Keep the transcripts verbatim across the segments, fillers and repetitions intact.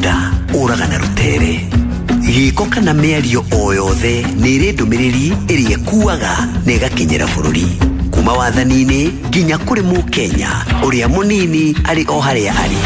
Mũgũnda ũraga na rũtere. Gĩko kana mĩario o yothe nĩ ĩrĩ ndũmĩrĩri ĩrĩa ĩkuaga na ĩgakinyĩra bũrũri. Kuma wathani-inĩ nginya kũrĩ mũkenya ũrĩa mũnini arĩ o harĩa arĩ.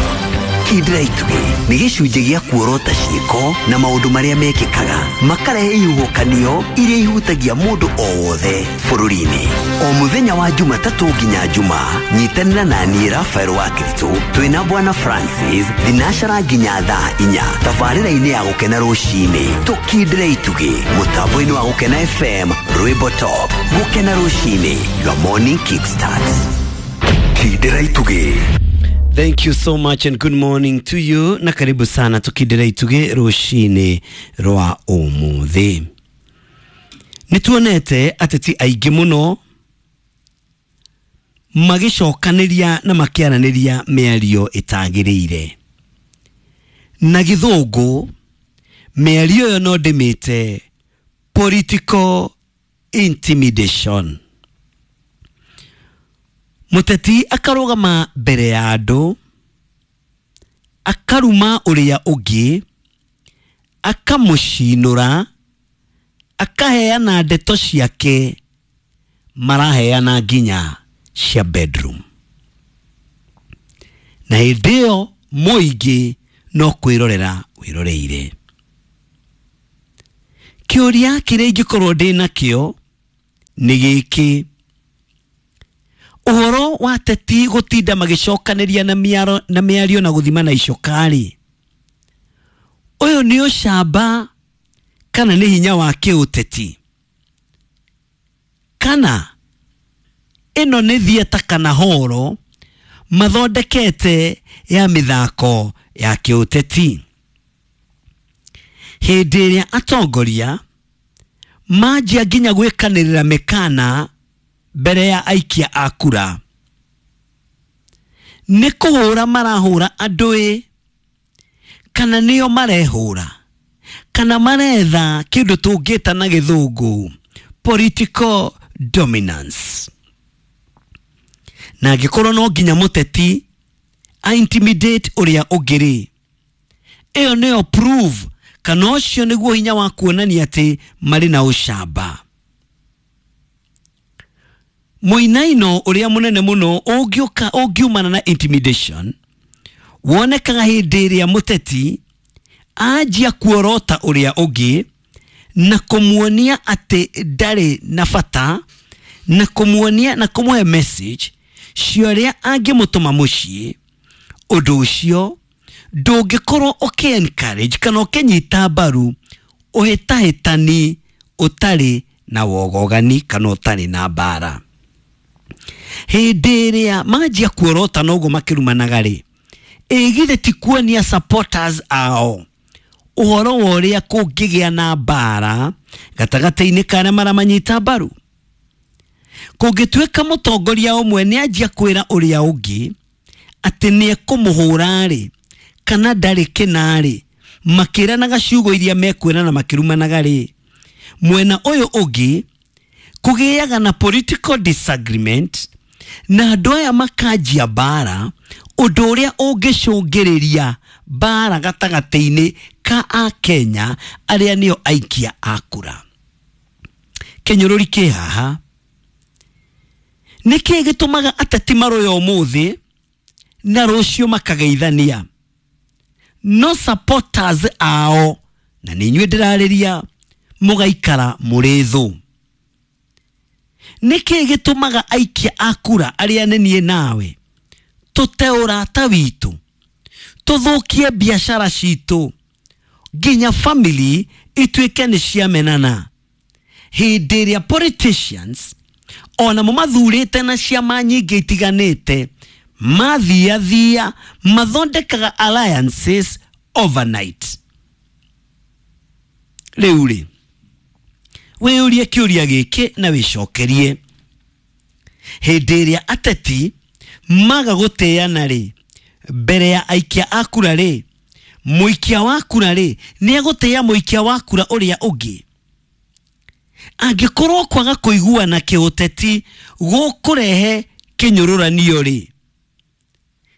Kindĩra Itugĩ nĩ gĩcunjĩ gĩa kuorota ciĩko na maũndũ marĩa mekĩkaga makarehe ihuhũkanio iria ihutagia mũndũ o wothe bũrũri-inĩ. O mũthenya wa Jumatatũ nginya Juma, nyitanĩra na niĩ Rafael wa Kiritũ twĩna Bwana Francis thinacara nginya thaa inya tabarĩra-inĩ ya Gũkena Rũcinĩ. Tũkindĩre Itugĩ mũtambo-inĩ wa Gũkena F M, Rwĩmbo Top. Gũkena Rũcinĩ, your morning kickstart. Kindĩra Itugĩ. Thank you so much and good morning to you, na karibu sana tukindira Itugĩ rũcinĩ rwa ũmũthĩ. Nĩ tuonete ateti aingĩ mũno magĩcokanĩria na makĩaranĩria mĩario ĩtagĩrĩire. Na gĩthũngũ mĩario ĩyo no ndĩmĩte political intimidation. Mũteti akarũgama mbere ya andũ, akaruma ũrĩa ũngĩ, akamũcinũra, akaheana ndeto ciake, maraheana nginya cia bedroom. Na hĩndĩ ĩyo mũingĩ no kwĩrorera wĩroreire. Kĩũria kĩrĩa ingĩkorwo ndĩ nakĩo nĩ gĩkĩ: ũhoro wa ateti gũtinda magĩcokanĩria na mĩaro, na mĩario na gũthima na icoka-rĩ, ũyũ nĩ ũcamba kana nĩ hinya wa kĩũteti? Kana ĩno nĩ theatre kana horo mathondekete ya mĩthako ya kĩũteti? Hĩndĩ ĩrĩa atongoria manjia nginya gwĩkanĩrĩra mĩkana mbere ya aikia a kura, nĩ kũhũra marahũra andũ ĩ, kana nĩo marehũra, kana maretha kĩndũ tũngĩta na gĩthũngũ political dominance. Na angĩkorwo no nginya mũteti a intimidate ũrĩa ũngĩ rĩ, ĩyo nĩyo proof kana ũcio nĩguo hinya wa kuonania atĩ marĩ na ũcamba. Mũinaino ũrĩa mũnene mũno ũngĩũka, ũngiumana na intimidation wonekaga hĩndĩ ĩrĩa mũteti anjia kuorota ũrĩa ũngĩ na kũmuonia atĩ ndarĩ na bata, na kũmuonia na kũmũhe message cia ũrĩa angĩmũtũma mũciĩ. Ũndũ ũcio ndũngĩkorwo ũkĩ encourage kana ũkĩnyita mbaru ũhĩtahĩtani ũtarĩ na wogogani kana ũtarĩ na mbara. Hĩndĩ ĩrĩa manjia kuorota noguo makĩrumanaga rĩ, ĩ githĩ ti kuonia supporters ao ũhoro wa ũrĩa kũngĩgĩa na mbara gatagatĩ-inĩ ka arĩa maramanyita mbaru? Kũngĩtuĩka mũtongoria ũmwe nĩ anjia kwĩra ũrĩa ũngĩ atĩ nĩ ekũmũhũra rĩ, kana ndarĩ kĩna rĩ, makĩranaga ciugo iria mekwĩrana makĩrumanaga rĩ, mwena ũyũ ũngĩ kũgĩaga na political disagreement na andũ aya makanjia mbara, ũndũ ũrĩa ũngĩcũngĩrĩria mbara gatagatĩ-inĩ ka Akenya arĩa nĩo aikia a kura. Kĩnyũrũri kĩ haha. Nĩkĩĩ gĩtũmaga ateti marũe ũmũthĩ na rũciũ makageithania? No supporters ao, na nĩ inyuĩ ndĩrarĩria, mũgaikara mũrĩ thũ. Nĩkĩĩ gĩtũmaga aikia a kura arĩa nĩ niĩ nawe tũte ũrata witũ, tũthũkie biacara citũ, nginya family ituĩke nĩ ciamenana? Hĩndĩ ĩrĩa politicians ona mo mathurĩte na ciama nyingĩ itiganĩte mathiathia mathondekaga alliances overnight. Rĩu rĩ, wĩyũrie kĩũria gĩkĩ na wĩcokerie. Hĩndĩ ĩrĩa ateti maga gũtĩana rĩ, mbere ya aikia a kura rĩ, mũikia wa kura rĩ, nĩ egũtĩa mũikia wa kura ũrĩa ũngĩ? Angĩkorwo kwaga kũiguana kĩũteti gũkũrehe kĩnyũrũranio rĩ,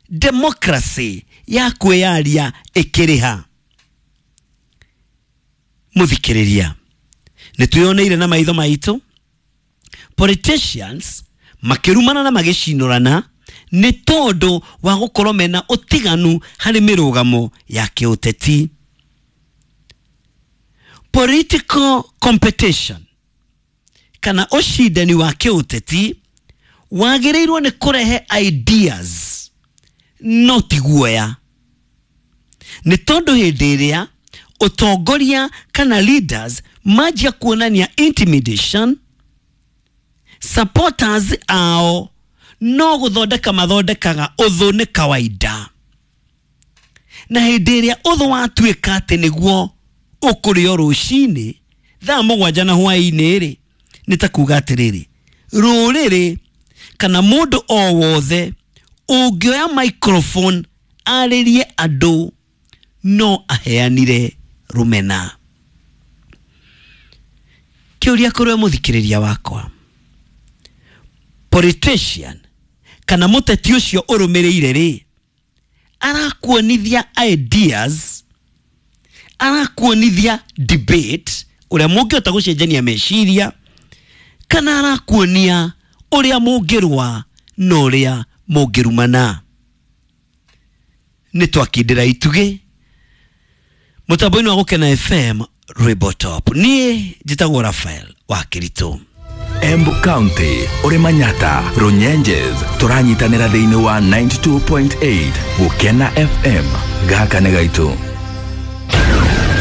democracy ya kwĩyaria ĩkĩrĩha? Muthikiriria, nĩ twĩoneire na maitho maitũ politicians makĩrumana na magĩcinũrana nĩ tondũ wa gũkorwo mena ũtiganu harĩ mĩrũgamo ya kĩũteti. Political competition kana ũcindani wa kĩũteti wagĩrĩirwo nĩ kũrehe ideas no ti guoya, nĩ tondũ hĩndĩ ĩrĩa ũtongoria kana leaders manjia kuonania intimidation, supporters ao no gũthondeka mathondekaga ũthũ nĩ kawaida, na hĩndĩ ĩrĩa ũthũ watuĩka atĩ nĩguo ũkũrĩo rũcinĩ thaa mũgwanja na hwaĩ-inĩ rĩ, nĩ ta kuga atĩrĩrĩ, rũrĩrĩ kana mũndũ o wothe ũngĩoya microphone arĩrie andũ no aheanire rũmena. Kĩũria kũrĩ mũthikĩrĩria wakwa, politician kana mũteti ũcio ũrũmĩrĩire rĩ, arakuonithia ideas, arakuonithia debate ũrĩa mũngĩhota gũcenjania meciria, kana arakuonia ũrĩa mũngĩrũa na ũrĩa mũngĩrumana. Nĩ twakindĩra itugĩ mũtambo-inĩ wa Gũkena F M rwĩmbo top. Niĩ njĩtagwo Raphael wa Kĩritũ. Embu County, uri Manyata, Runyenjes, turanyitanĩra thĩinĩ wa ninety-two point eight Gũkena F M. Gaka nĩ gaitũ.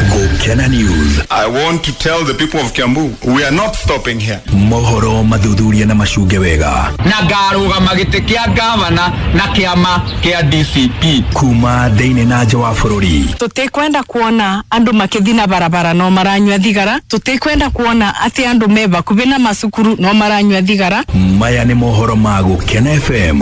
Gũkena News. I want to tell the people of Kiambu, we are not stopping here. Mohoro mathuthuria na macunge wega. Na ngarũgama gĩtĩ kĩa gavana na kĩama kĩa D C P. Kuma thĩinĩ na nja wa bũrũri. Tũtikwenda kuona andũ makĩthi na barabara no maranyua thigara. Tũtikwenda kuona atĩ andũ me bakubi na macukuru no maranyua thigara. Maya nĩ mohoro ma Gũkena F M.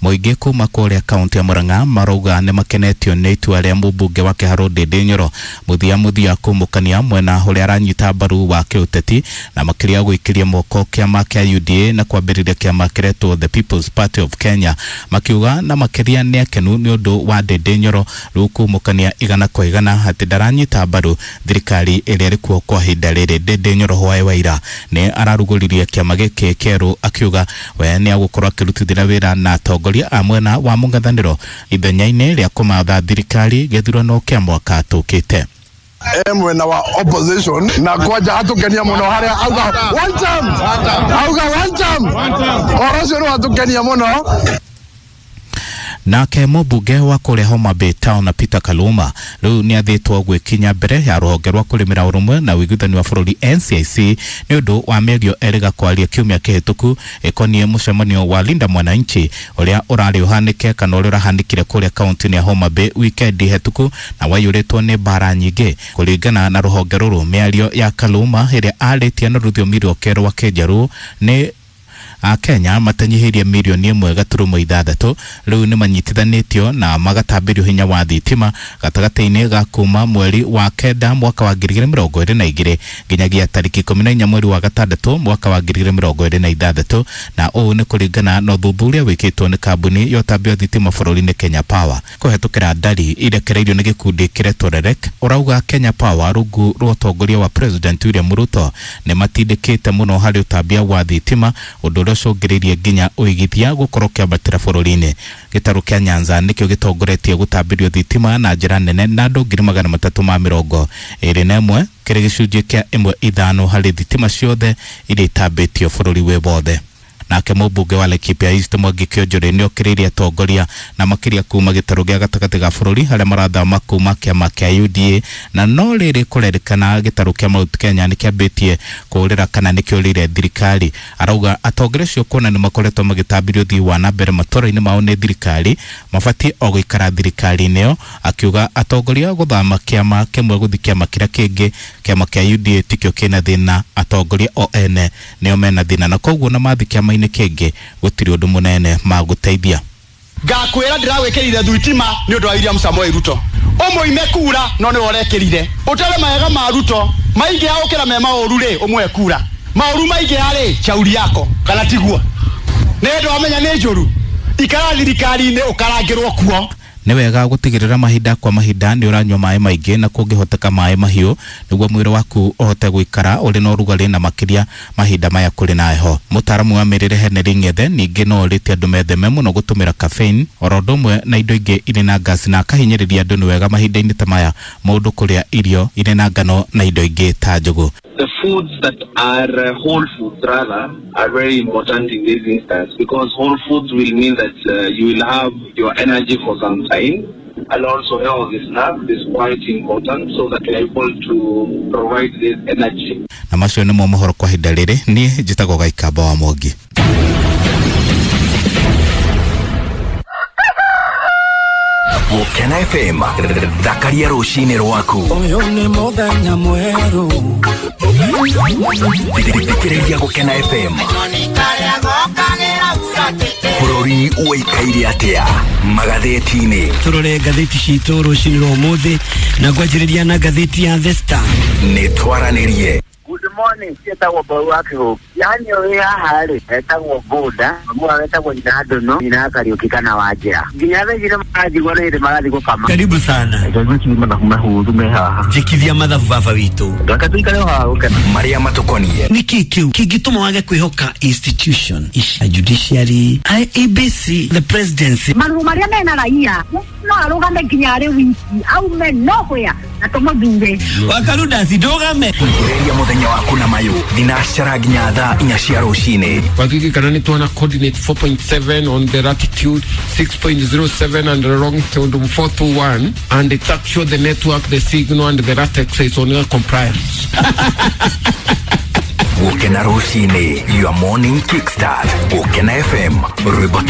Mũingĩ kuma kũrĩa kaunti ya Murang'a marauga nĩ makenetio nĩ itua rĩa mũmbunge wa Kĩharũ Ndĩndĩ Nyoro mũthia mũthia kũmũkania mwena ũrĩa aranyita mbaru wa kĩũteti na makĩria gwĩkĩria moko kĩama kĩa U D A na kwambĩrĩria kĩama kĩretwo The People's Party of Kenya, makiuga na makĩria nĩ akenu nĩ ũndũ wa Ndĩndĩ Nyoro rĩu kũmũkania igana kwa igana atĩ ndaranyita mbaru thirikari ĩrĩa ĩrĩ kuo kwa ihinda rĩrĩ. Ndĩndĩ Nyoro hwaĩ wa ira nĩ ararugũririe kĩama gĩkĩ kĩerũ akiuga we nĩ agũkorwo akĩrutithĩra wĩra na atongoria a mwena wa mũng'ethanĩro ithenya-inĩ rĩa kũmatha thirikari gĩthurano kĩa mwaka tũkĩte. E mwena wa opposition na kwanja atukenia muno haria auga one term, auga one term, oro ũcio nĩ watukenia muno. Nake mũmbunge wa kũrĩa Homa Bay Town na Peter Kaluma rĩu nĩ athĩtwo gwĩkinya mbere ya rũhonge rwa kũrĩmĩra ũrũmwe na ũiguithani wa bũrũri N C I C nĩ ũndũ wa mĩario erĩga kwaria kiumia kĩhĩtũku ĩkoniĩ mũcemanio wa Linda Mwananchi ũrĩa ũrarĩ ũhanĩke kana ũrĩa ũrahanĩkire kũrĩa kaunti-inĩ ya Homa Bay wikendi hĩtũku na waiyũrĩtwo nĩ mbara nyingĩ. Kũringana na rũhonge rũrũ, mĩario ya Kaluma ĩrĩa arĩtie na rũthiomi rwake rwa Kĩnjaruo nĩ a Kenya matanyihĩrie mirioni ĩmwe gaturumo ithathatũ rĩu nĩ manyitithanĩtio na magatambĩrio hinya wa thitima gatagatĩ-inĩ ga kuma mweri wa kenda mwaka wa ngiri igĩrĩ mĩrongo ĩrĩ na igĩrĩ nginyagia tarĩki ikũmi na inya mweri wa gatandatũ mwaka wa ngiri igĩrĩ mĩrongo ĩrĩ na ithathatũ, na ũũ nĩ kũringana na ũthuthuria wĩkĩtwo nĩ kambuni ya ũtambia wa thitima bũrũri-inĩ Kenya Power kũhetũkĩra ndari irekereirio nĩ gĩkundi kĩretwo REREC. Ũrauga Kenya Power rungu rwa ũtongoria wa President William Ruto nĩ matindĩkĩte mũno harĩ ũtambia wa thitima, ũndũ ũrĩa ũcũngĩrĩirie nginya ũigithia gũkorwo kĩambatĩra bũrũri-inĩ. Gĩtarũ kĩa Nyanza nĩkĩo gĩtongoretie gũtambĩrio thitima na njĩra nene na andũ ngiri magana matatũ ma mĩrongo ĩrĩ na ĩmwe kĩrĩ gĩcunjĩ kĩa ĩmwe ithano harĩ thitima ciothe iria itambĩtio bũrũri wĩ wothe. Nake mũmbunge wa Laikipia East Mwangi Kĩonjũrĩ nĩ okĩrĩirie atongoria na makĩria kuma gĩtarũ gĩa gatagatĩ ga bũrũri harĩa marathama kuma kĩama kĩa U D A, na no rĩrĩ kũrerĩkana gĩtarũ kĩa Mount Kenya nĩ kĩambĩtie kũũrĩra kana nĩ kĩũrĩire thirikari. Arauga atongoria acio kuona nĩ makoretwo magĩtambĩrio ũthii wa na mbere matũra-inĩ mao nĩ thirikari mabatiĩ o gũikara thirikari-inĩ ĩyo, akiuga atongoria gũthama kĩama kĩmwe gũthiĩ kĩama kĩrĩa kĩngĩ, kĩama kĩa U D A tikĩo kĩna thĩna, atongoria o ene nĩo mena thĩna na koguo na mathi kĩama-inĩ kĩngĩ gũtirĩ ũndũ mũnene magũteithia. Ngakwĩra ndĩrawĩkĩrire thitima nĩ ũndũ wa William Samoei Ruto, ũmũime kura no nĩwe ũrekĩrire, ũtere mawega ma Ruto maingĩha gũkĩra me maũru rĩ, ũmũhe kura, maũru maingĩha rĩ, chauri yako kana tiguo? Nĩ ũndũ wamenya nĩ njũru, ikara thirikari-inĩ ũkarangĩrwo kuo. Nĩ wega gũtigĩrĩra mahinda kwa mahinda nĩ ũranyua maĩ maingĩ na kũngĩhoteka maĩ mahiũ nĩguo mwĩrĩ waku ũhote gũikara ũrĩ na ũrugarĩ na makĩria mahinda maya kũrĩ na heho. Mũtaaramu wa mĩrĩre Henry Ng'ethe ningĩ no orĩtie andũ metheme mũno gũtũmĩra caffeine oro ũndũ ũmwe na indo ingĩ irĩ na gas, na akahinyĩrĩria andũ nĩ wega mahinda-inĩ ta maya mũndũ kũrĩa irio irĩ na ngano na indo ingĩ ta njũgũ. The foods that are uh, whole foods rather are very important in this instance, because whole foods will mean that uh, you will have your energy for some time, and also healthy snack is quite important so that you are able to provide this energy. Na macio nĩmo mohoro kwa ihinda rĩrĩ. Niĩ njĩtagwo Gaikamba wa Mwangi. Gũkena F M, thakaria rũcinĩ rwaku. Ũyũ nĩ mũthenya mwerũ. Thikĩrĩria Gũkena F M. Bũrũri ũikaire atĩa magathĩti-inĩ? Tũrore ngathĩti citũ rũcinĩ rwa ũmũthĩ na ngwanjĩrĩria na ngathĩti ya The Star. Nĩ twaranĩrie. Good morning, cietagwo Mbau wa Kĩhũngĩ. Yani ũrĩ haha rĩ, etagwo Bũnda, mamu etagwo nyina Ndono, nyina Kariũki kana Wanjĩra. Nginya thaa ici nĩmaranjigua nĩ hĩndĩ marathiĩ gũkama. Karibu sana. Mathabu mahũthũ me haha. Njĩkithia mathabu baba witũ. Reke tũikare o haha gũkena. Marĩa matũkoniĩ. Nĩkĩ kĩu kĩngĩtũma wage kwĩhoka institution ici, judiciary, I E B C, the presidency? Marũa marĩa mena raia no arũgame nginya arĩ wiki aume nowhere na tũmũthure. Wakarudasi ndũgame. Thikĩrĩria mũthenya waku na mayũ thinacara nginya thaa inya cia rũcinĩ. Wakikikana nĩ tuona coordinate four point seven on the latitude, six point zero seven and the longitude four two one, and it's actually the network, the signal and the latex is on your compliance. Gũkena rũcinĩ, your morning kickstart. Gũkena F M, rwĩmbo